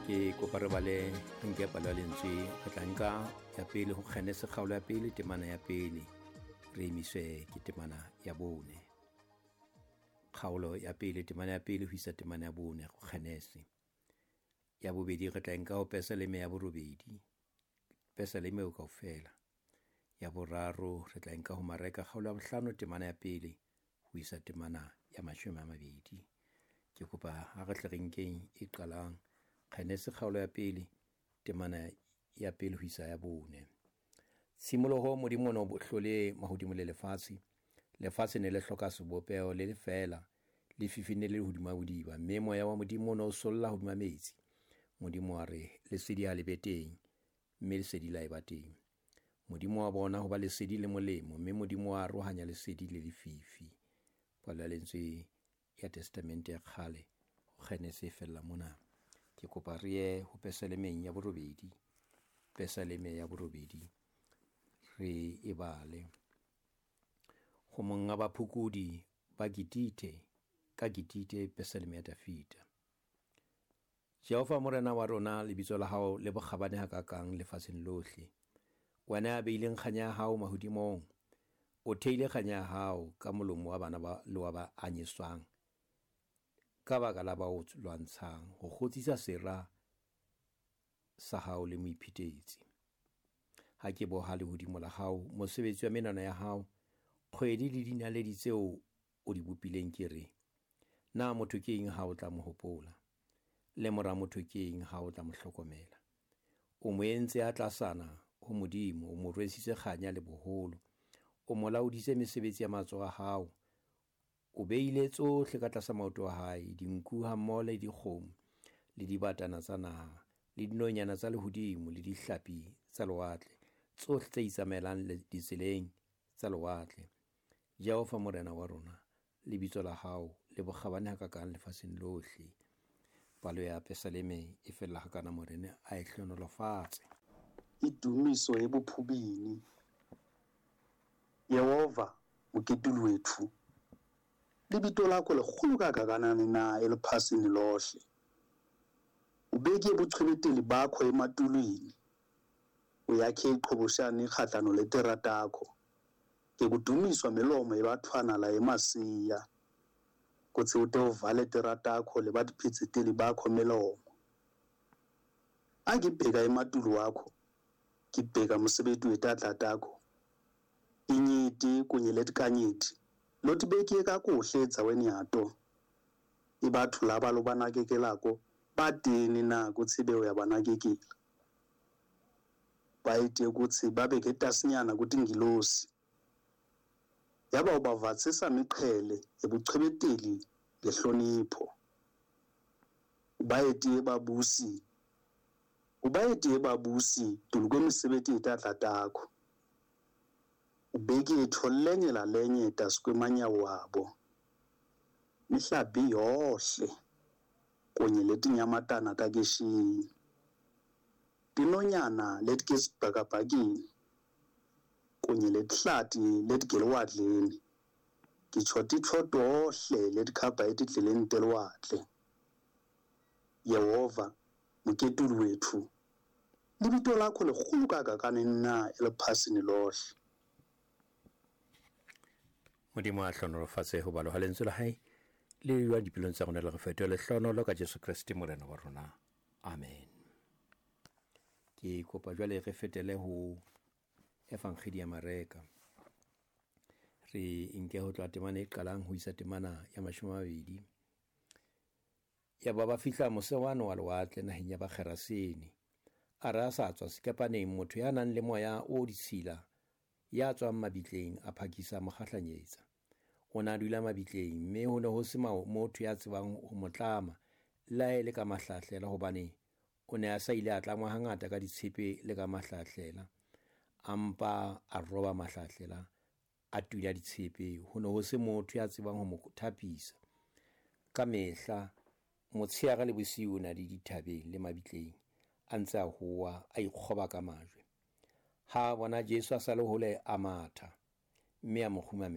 Ke kopa re bale re nke palo ya lentswe, re tla nka ya pele ho Kgenese kgaolo ya pele temana ya pele, re emiswe ke temana ya bone. Kgaolo ya pele temana ya pele ho isa temana ya bone ho Kgenese. Ya bobedi re tla nka ho Pesaleme ya borobedi, Pesaleme eo kaofela. Ya boraro re tla nka ho Mareka kgaolo ya bohlano temana ya pele ho isa temana ya 20. Ke kopa ha re tle re nkeng e qalang Kgenese kgaolo ya pele temana ya pele ho isa ya bone. Tshimoloho Modimo o ne o hlole mahodimo le lefatshe. Lefatshe ne le hloka sebopeho le lefeela, lefifi ne le hodima bodiba, mme moya wa Modimo o ne o solla hodima metsi. Modimo wa re, lesedi ha le be teng, mme lesedi la eba teng. Modimo wa bona hoba lesedi le molemo, mme Modimo wa arohanya lesedi le lefifi. Palo ya lentswe ya Testamente ya kgale ho Kgenese e fella mona. Ke kopa re ye ho Pesalemeng ya borobedi, Pesaleme ya borobedi re e bale. Ho monga baphokodi ba Gitite, ka Gitite, Pesaleme ya Dafida. Jehova Morena wa rona, lebitso la hao le bokgabane hakakang lefatsheng lohle. Wena ya beileng kganya ya hao mahodimong, o theile kganya ya hao ka molomo wa bana ba le wa ba anyeswang, ka baka la ba o lwantshang, ho kgotsisa sera sa hao le moiphetetsi. Ha ke boha lehodimo la hao, mosebetsi wa menwana ya hao, kgwedi le dinaledi tseo o di bopileng, ke re, na motho ke eng ha o tla mo hopola? Le mora motho ke eng ha o tla mo hlokomela? O mo entse a tlasana ho Modimo, o mo rwesitse kganya le boholo, o mo laoditse mesebetsi ya matsoho a hao. O beile tsohle ka tlasa maoto a hae, dinku hammoho le dikgomo, le dibatana tsa naha, le dinonyana tsa lehodimo, le dihlapi tsa lewatle, tsohle tse itsamaelang ditseleng tsa lewatle. Jehova Morena wa rona, lebitso la hao le bokgabane hakakang lefatsheng lohle. Palo ya Pesaleme e fella hakana, Morena a e hlohonolofatse. Idumiso ebuphubini. Yehova moketuli wethu, lebito lakho likhulu kangakanani na eliphasini lohle? Ubeke ubuchwebeteli bakho ematulwini, uyakhe iqhoboshane ikhahlano letera takho. Ngekudumiswa milomo yebathwana la emasiya, kutsi ute uvale tera takho lebatiphidziteli bakho milomo. Angibheka ematulu wakho, ngibheka mosebetsi wetandla takho, inyeti kunye letikanyeti lotibekiye kakuhle endzaweni yato. Ibathu laba lobanakekelako batini na kutsi be uyabanakekela? Bayite kutsi babe ketasinyana kutingilosi, yaba ubavatsisa miqhele ebuchwebeteli ngehlonipho. Ubayetiye babusi, ubayetiye babusi dulu kwemisebenti yetandla takho. Ubeke itho lenye lalenye tasi kwemanyawo abo. Mihlabi yohle kunye letinyamatana takeshiyi, tinonyana letikesibhakabhakeni kunye letihlati letigelwadleni, ngitsho titfo tohle letikhamba etindleleni telwandle. Yehova moketuli wethu, lebito lakho likhulu kangakanani na eliphasini lohle? Modimo a hlohonolofatse ho balwa ha lentswe la hae le jwang dipelong tsa rona, le re fetohe lehlohonolo ka Jesu Kreste Morena wa rona. Amen. Ke kopa jwale re fetele ho Evangeli ya Mareka. Re nke ho tloha temana e qalang ho isa temana ya 20. Ya ba ba fihla mose wane wa lewatle naheng ya Bagerasene. A re a sa tswa sekepaneng, motho ya nang le moya o ditshila ya tswang mabitleng a phakisa mo kgahlanyetsa. O ne a dula mabitleng, mme ho ne ho se motho ya tsebang ho mo tlama le ha e le ka mahlahlela, hobane o ne a sa ile a tlangwa hangata ka ditshepe le ka mahlahlela. A mpa a roba mahlahlela, a tunya ditshepe. Ho ne ho se motho ya tsebang ho mo thapisa. Ka mehla motshehare le bosiu o na le dithabeng le mabitleng, a ntse a howa, a ikgoba ka majwe. Ha a bona Jesu a sa le hole, a matha, mme a mo kgumamela.